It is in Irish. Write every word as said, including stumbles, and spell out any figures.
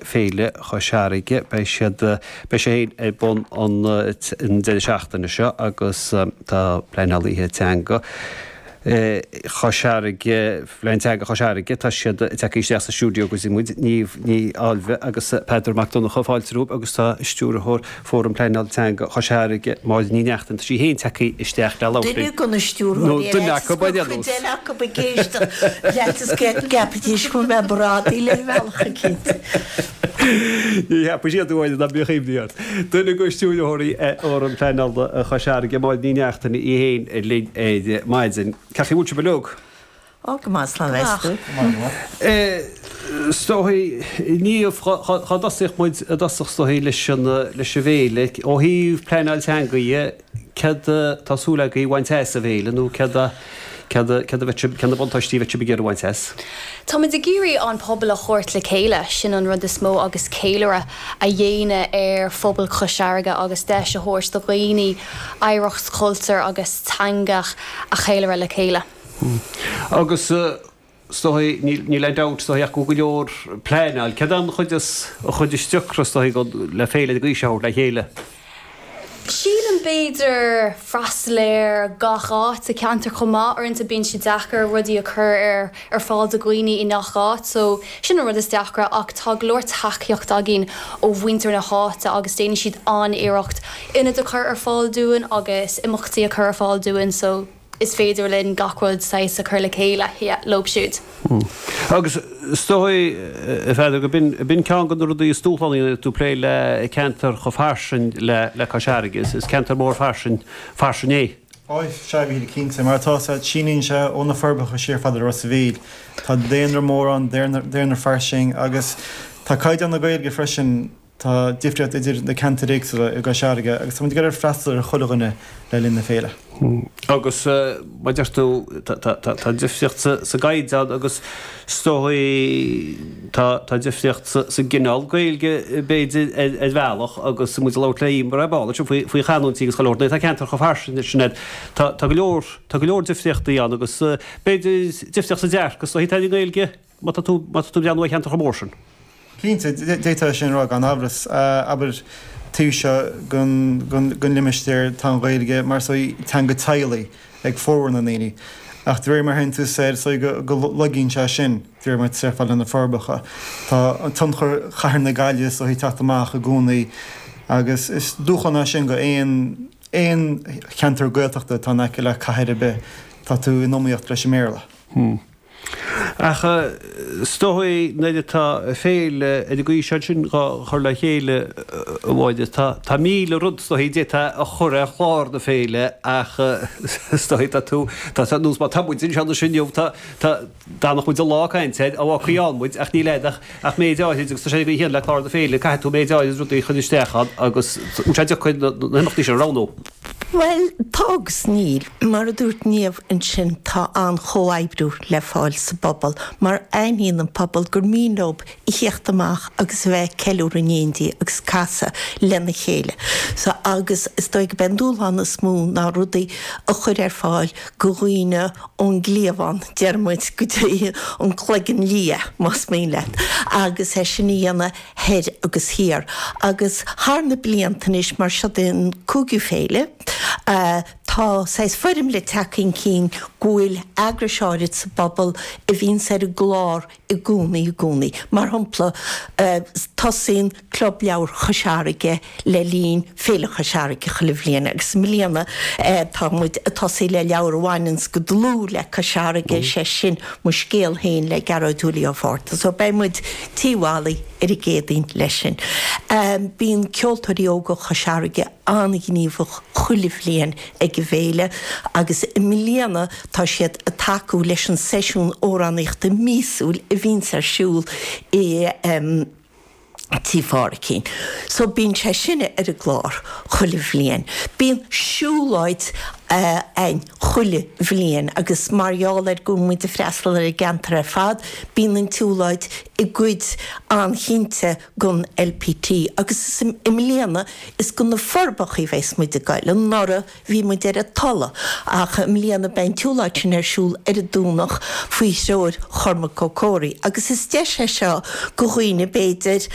Féile Chois Fharraige. Beidh siad, beidh sé féin ar bun an deireadh seachtaine seo agus tá pleanálaithe teanga Chois Fharraige, Plean Teanga Chois Fharraige, tá siad tagtha isteach sa stiúideo go dtí muid, Niamh Ní Ailbhe agus Peadar Mac Donncha, fáilte romhaibh agus tá Stiúrthóir Fóram Pleanála Teanga Chois Fharraige, Máire Ní Neachtain, tá sí féin tagtha isteach le labhairt linn. Duine de na stiúrthóirí Nó duine acu, ar aon cuid nós. eile acu ag éisteacht leat is go gceapfaidís go bhfuil mé bradaí le bhealach eicínt. Ní cheapfaidh siad uaidh ná bíodh imní ort. Duine de stiúrthóirí Fhóram Pleanála Chois Fharraige, Máire Ní Neachtain, í féin linn ar maidin. Cén chaoi a bhfuil sibh uilig? Ó, go maith, slán meas tú. Is dóigh, Niamh, cá dtosódh muid i dtosach is dóigh leis an leis an bhféile. Ó thaobh pleanáil teanga dhe, céard tá súil agaibh a bhaint as an bhféile nó céard a céard a céard a bheadh sibh, cé na buntáistí a bheadh sibh ag iarraidh a bhaint as? Táimid ag iarraidh an pobal a thabhairt le chéile, sin an rud is mó agus ceiliúradh a dhéanamh ar phobal Chois Fharraige agus deis a thabhairt do dhaoine oidhreacht, cultúr agus teanga a cheiliúradh le chéile. Agus is dóigh, níl aon dabht is dóigh ach go bhfuil go leor pleanáil. Céard an chuid is an chuid is deacra is dóigh le féile den gcaoi seo a thabhairt le chéile? Sílim b'fhéidir freastal ar gach áit sa cheantar chomh maith, uaireanta bíonn sé deacair rudaí a chur ar ar fáil do dhaoine i ngach áit so sin an rud is deacra ach tá go leor tacaíocht againn ó mhuintir na háite agus déanann siad an-iarracht ionad a chur ar fáil dúinn agus imeachtaí a chur ar fáil dúinn so is féidir linn gach rud saghas a chur le chéile yeah, leo siúd. Agus is dóigh, a Pheadair, go b'in b'in ceann de na rudaí is dúshlánaí nuair tú ag plé le ceantar chomh fairsing le le Cois Fharraige. Is is ceantar mór fairsing fairsing é. Ó, sea, a Mhíchíl, cinnte. Mar atá sé, síníonn sé ó na Forbacha siar fada le Ros a' Mhíl. Tá daonra mór ann, daonra daonra fairsing agus tá caighdeán na Gaeilge freisin, tá difríocht idir na ceantair éagsúla i gCois Fharraige agus tá muid ag iarraidh freastal ar chuile dhuine le linn na féile. Agus mar a deir tú, tá difríocht sa gcaighdeán agus is dóigh tá difríocht sa gcineál Gaeilge b'fhéidir ar bhealach agus muid ag labhairt le Emer ar ball ansin faoi chanúintí agus chuile shórt. Tá ceantar chomh fairsing sin air. Tá go leor tá go leor difríochtaí ann agus b'fhéidir difríocht sa dearcadh is dóigh atá ar an nGaeilge má tá tú má tá tú ag breathnú ar cheantar chomh mór sin. Cinnte, d'fhéadfá é sin a rá gan amhras. Abair, taobh seo den limistéar tá an Ghaeilge mar is dóigh teanga teaghlaigh ag formhór na ndaoine. Ach de réir mar a théann tú soir, is dóigh go lagaíonn sé sin de réir mar atá tú fad le na Forbacha. Tá tionchar chathair na Gaillimhe is dóigh ag teacht amach i gcónaí agus is dúshlán é sin go aon aon cheantar Gaeltachta atá in aice le cathair ar bith, tá tú in iomaíocht leis an mBéarla. Ach is dóigh nuair atá féile ar an gcaoi seo ansin dhá chur le chéile, a Mháire, tá míle rud is dóigh d'fhéadfá a chur ar chlár na féile ach is dóigh tá tú, tá nós má tá muid anseo anois inniu, tá, tá, d'fhanfadh muid an lá ag caint air, á fhágfaí ann muid ach níl agat ach méid áirid agus tá sé ar an gcaoi chéanna le clár na féile, caithfidh tú méid áirid rudaí a chur isteach ann agus bhfuil sé deacair na himeachtaí sin a roghnú. Bhuel, tá agus níl. Mar a dúirt Niamh ansin, tá an-chomhoibriú le fáil sa bpobal, mar aithníonn an pobal gur mian leo a theacht amach agus a bheith ag ceiliúradh in éindí agus casadh lena chéile. So, agus is dóigh gurb é an dúshlán is mó ná rudaí a chur ar fáil go dhaoine ón gcliabhán, deir muid, go dtí an cloigeann liath, más mian leat, agus é sin a dhéanamh thoir agus thiar. Agus thar na blianta anois, mar seo an cúigiú féile, tá saghas foirmle tagtha chun cinn go bhfuil eagrais áirid sa bpobal a bhíonns ar an gclár i gcónaí i gcónaí. Mar shampla, tosaíonn Club Leabhar Chois Fharraige le linn Féile Chois Fharraige chuile bhliain agus i mbliana tá muid ag tosaí le leabhar a bhaineanns go dlúth le Cois Fharraige, sé sin Mo Scéal Féin le Gearóid Willie Ó Fátharta. So beidh muid Tí Mholly ar an gCéadaoin leis sin. Bíonn Ceoltóirí Óga Chois Fharraige an-ghníomhach chuile bhliain ag an bhféile agus i mbliana tá siad ag tacú leis an seisiún amhránaíochta míosúil a bhíonns ar siúl i Tí Phádraicín. So bíonn sé sin ar an gclár chuile bhliain. Bíonn siúlóid againn chuile bhliain agus mar gheall ar go bhfuil muid ag freastal ar an gceantar ar fad, bíonn an tsiúlóid i gcuid an-chinnte den LPT agus is i mbliana is go na Forbacha a bheas muid ag goil. Anuraidh bhí muid ar an Tulaigh ach i mbliana beidh an tsiúlóid sin ar siúl ar an Domhnach faoi threoir Chormac Ó Comhraí agus is deis é seo do dhaoine b'fhéidir